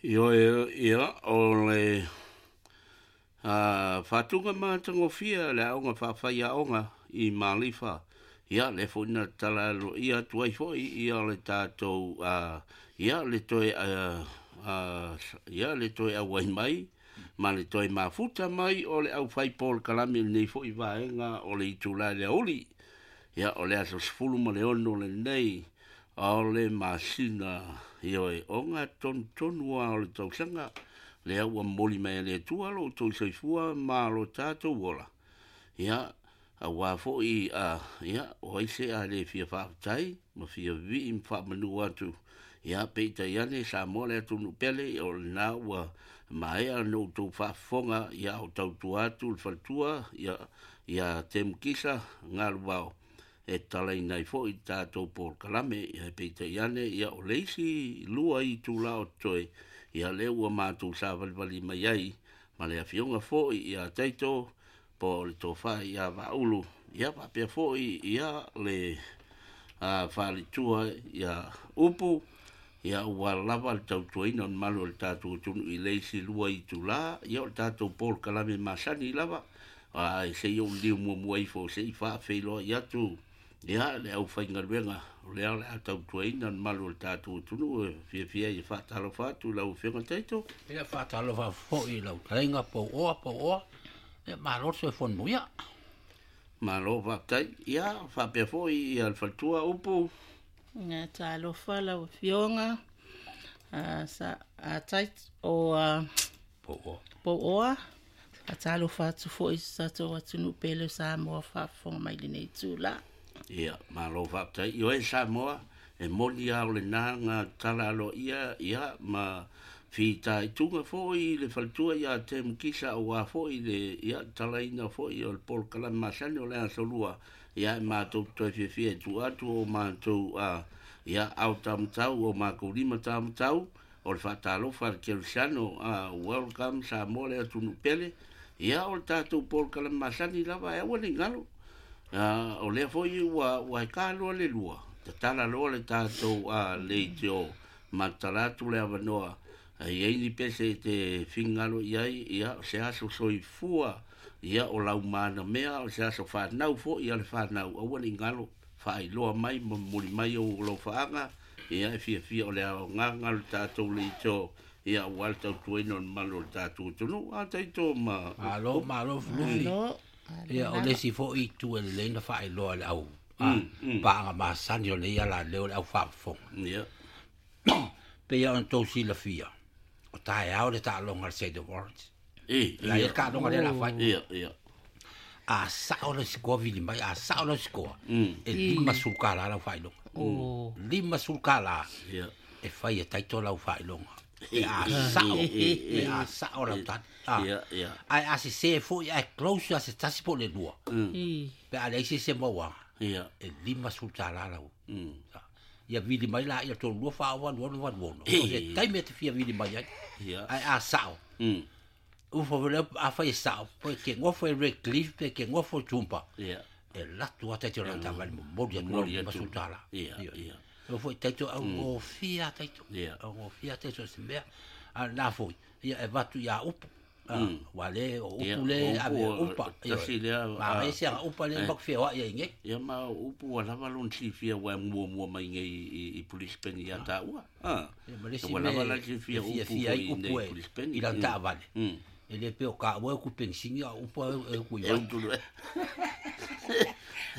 Ioe, ia, o le faatuga matagofie a le Aoga Faafaiaoga i Malifa, ia, lea foi na tatala aloaia atu ai foi ia le tatou, ia, le toe, ia, le toe auai mai ma le toe mafuta mai o le aufai polokalame i lenei foi vaega o le itula i le aoauli. Ia, o le aso 16 lenei o le masina, ioe, ogatotonu lava o le tausaga, lea ua momoli mai e le Atua lo outou soifua ma lo tatou ola. Ia, aua foi, a, ia, o ai se a le fia faafetai ma fia vivii ma faamanu atu. Ia, peitai ane, Samoa le atunuu pele, o lena ua maea ona outou faafofoga, ia, o tautua atu le faletua, ia, ia Temu Kisa Galuvao, e tatalaina ai foi le tatou polokalame. Ia, peitai ane, ia, o le isi lua itula o totoe, ia, lea ua matou savalivali mai ai ma le afioga foi ia Taito po o le Tofa ia Vaaulu, ia faapea foi ia le faletua ia Upu, ia ua lava le tautuaina o le mamalu o le tatou atunuu i le isi lua itula, ia o le tatou polokalame masani lava, ae se i ou liliu muamua ifo se i faafeiloai atu ia le aufaigaluega o lea o le a tautuaina le mamalu o le tatou atunuu e fiafia ai e faatalofa atu i lau Afioga Taito. Ia faatalofa foi i lau fetalaiga Pouoa, Pouoa, ia malo le soifua manuia. Malo faafetai. Ia faapea foi ia le faletua Upu. Ia talofa lau Afioga sa a Taito o a Pouoa. Pouoa. Faatalofa atu foi i so tatou atunuu pele o Samoa o faafofoga mai i lenei itula. Ia, malo faafetai. Ioe Samoa, e moni lava o lena na tatala aloaia, ia, ma fitaituga foi i le faletua ia Temu Kisa aua foi le, ia, tatalaina foi o le polokalame masani o le Aso Lua, ia, e matou te toe fiafia e tuu atu o matou, a, ia, ao taumatau, o makou lima taumatau, O le faatalofa a le Kerisiano, a welcome Samoa le atunuu pele. Ia, o le tatou polokalame masani lava e aua ne i galo. A, o lea foi ua, ua heka loa le lua, tatala loa le tatou a, leitio ma tatala atu le avanoa. A i ai ni pese e te finagalo i ai, ia, o se aso soifua, ia, o lau manamea, o se aso fanau foi a le fanau, aua ne i galo, faailoa mai ma momoli mai ou alofaaga, Ia, e fiafia o le aogaga o le tatou leitio, ia, aua le tautuaina o le mamalu o le tatou atunuu. A taito ma Malo, malo Fulusi. Malo, Ia, o le isi foi itu e lelei ona faailoa e le au paaga masani o lenei alaleo o le au faafofoga. Ia. Pei ona outou silafia, o taeao le taaloga a le State of Orange. E, La ia le taaloga lea la fai. Ia, ia. A sao le sikoa vili mai, a sao le sikoa, e $50 lau faailoga. $50 Ia. e fai e taito lau faailoga. Pe a sao, pe a sao lau tali. Ia, ia. Ae a sese foi, ae close a se tasi po o le lua. Pe a leai se isi e mauaga, Ia. e $50 lau. Ia vili mai la ia 3 2 4 8 6 8 6. O se taimi e te fia vili mai ai. Ia. Ae a sao, Ufo foi lea, afai e sao, pe ke gofo e Red Cliff, pe ke gofo e Toowoomba. Ia. E latou lava taito i lana taavale momoli atu lau Momoli atu. $50. Ia, Ioe. ia. O foi taito augofie lava taito. Ia. Augofie lava taito i se mea. A o lena foi, ia e avatu ia Upu. Aua le o Ia, Upu le o ave Upu, upa. Ioe. tasi lea, Manaia se aga upa lea matou feoai ai nei. Ia ma o Upu ua lava lona silafia ua e muamua mai nei i Brisbane ia taua. Ia ma le isi Ua lava mea la e silafia Upu fiafia foi ai i Upu nei e Brisbane. i lana taavale. E le pei o taua e utu penisini a o Upu e utu i E vai. utu loa.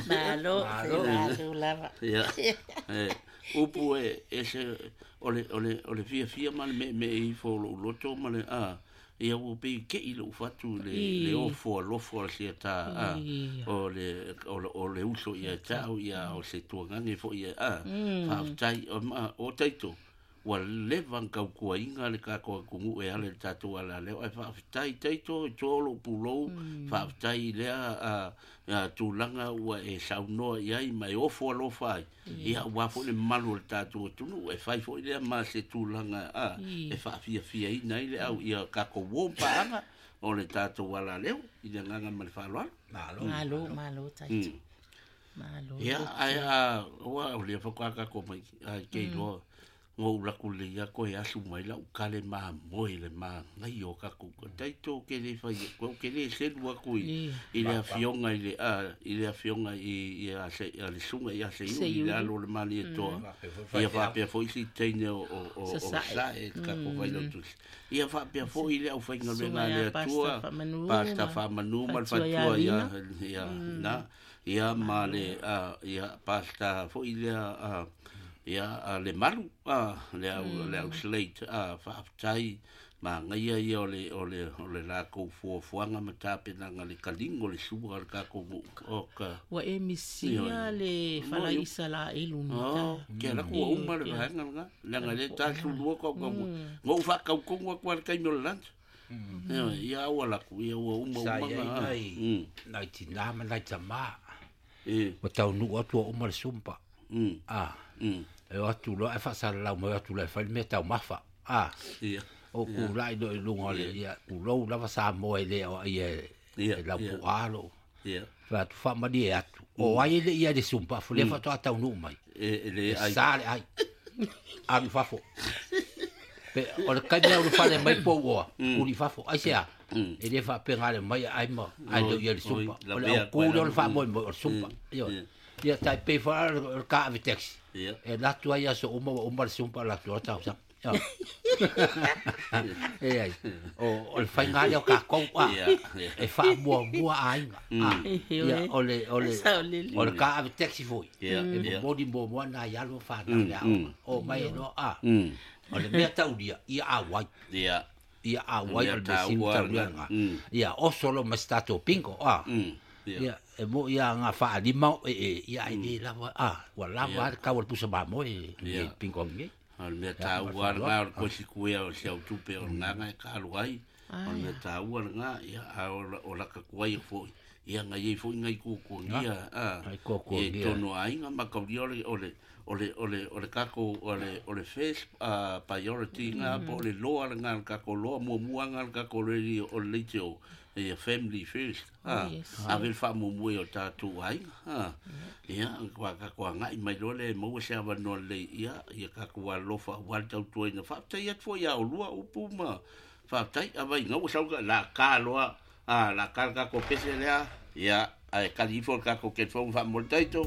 Malo, Malo. malo lava. Ia. E, Upu e, e se, o le, o le, o le fiafia ma le meemee ifo o lou loto ma le, a, ia ua pei kei lou fatu i le, le ofo alofa o le siata, a, o le, o le, o le uso ia te au, ia, o se tuagage foi ia, a, faafetai, o, ma, o taito, ua leva ona tautuaina le tatou atunuu e ala i le tatou alaleo, ae faafetai taito e toa lou pulou, faafetai i lea a, tulaga ua e saunoa i ai ma e ofo alofa ai, ia aua foi le mamalu o le tatou atunuu, e fai foi lea ma se tulaga a, e faafiafiaina ai le au ia tatou uo ma paaga o le tatou alaleo i le agaga ma le faaaloalo. Malo. Malo, malo taito. Malo. Ia, ae a, ua o lea faatoa tatou mai, ai ke iloa. Ngou laku le ia koe asu mai lau kale ma moe le ma ngai o kaku. Taito ke le fai ko ke le selu aku i le afioga i le a i le afioga i a se a le sunga i a se i le alo le mali e toa. Ia faapea foi si teine o sa e ka ko fai lo tusi. Ia faapea foi le au faigaluega a le Atua, Pasta Faamanu ma le fatua ia ia na ia ma le ia pasta foi lea ia le malu le au le au slate faafetai ma ngaia ia o le o le o le lakou fuafuaga ma tapenaga le kaligo le sua o le kakou nuu o ka Ua e misia le falaisa la elu ni. Ke ala ku uma le vaega lena leaga le tasulua kau kau ngou faakaukonu aku a le taimi o le lunch. Ia aua laku ia ua uma Sa uma iai ga nai nai tinā ma nai tamā. E Ua taunuu atu ua uma le sumpa. A. E o atu loa e faasalalau mai o atu loa e fai le mea taumafa. A. Ia. O kula'i loa i luga o le ia tulou lava Samoa e le o ia Ia, e laupu'a lo. Ia. Fai atu faamalie atu. O ai e le ia le sumpa fo le faatoa taunuu mai. E le E ai sa le ai. Alu i fafo. Pe o le kaimi au le fale mai pou oa, uli fafo. Ai se a, e le faapega le mai ai ma ai le ia le sumpa. Oi, O le lavea au kū lea o le koe la. faamoemoe o le sumpa. Ioe. Ia tai pei fa le ka ave taxi. Ia. E latu ai aso uma ua uma le sumpa latu o tau sa. Ioe. E ai, o le faiga lea o kakou a. Ia, ia. E faamuamua aiga. A. Ia o le o le Sao lele. o le ka ave taxi foi. Ia, E ia. momoli muamua nai alo ma fanau le aoga. O mai e loa a. O le mea taulia, ia auai. Ia. Ia auai Mea o le mea sili taua taulia lena. lena. Ia. Ia oso lo ma se tatou bingo a. Ia. Ia, e mo ia ngā whaalima o e e, ia ai le lava, a, ua lava le kau o le pusa mamoe e, Ia. e bingo nge. O le mea taua lena o le kosi kuea o se autupe o lena e kalu ai. O le mea taua lena, ia, a o o laka kuai foi. Ia ngai ai foi ngai kukuangia, a. Ngai kuakuagia. E tono aiga ma kaulia o le, o le, o le, o le, o le kako, o le, o le first priority ngā, po o le loa lena, le kako loa, muamua ngā le kako le, o le leite o, ia family first. Oh, yes. Ave le faamuamua i o tatou aiga. A. Ia, kua kako angai mai loa le maua se avanoa lelei, ia, ia kako alofa aua le tautuaina. Faafetai atu foi ia olua upu ma faafetai avai gaua sau ka la ka loa, a la ka le kako pese lea, ia, ae kali ifo le kako telefone faamole taito.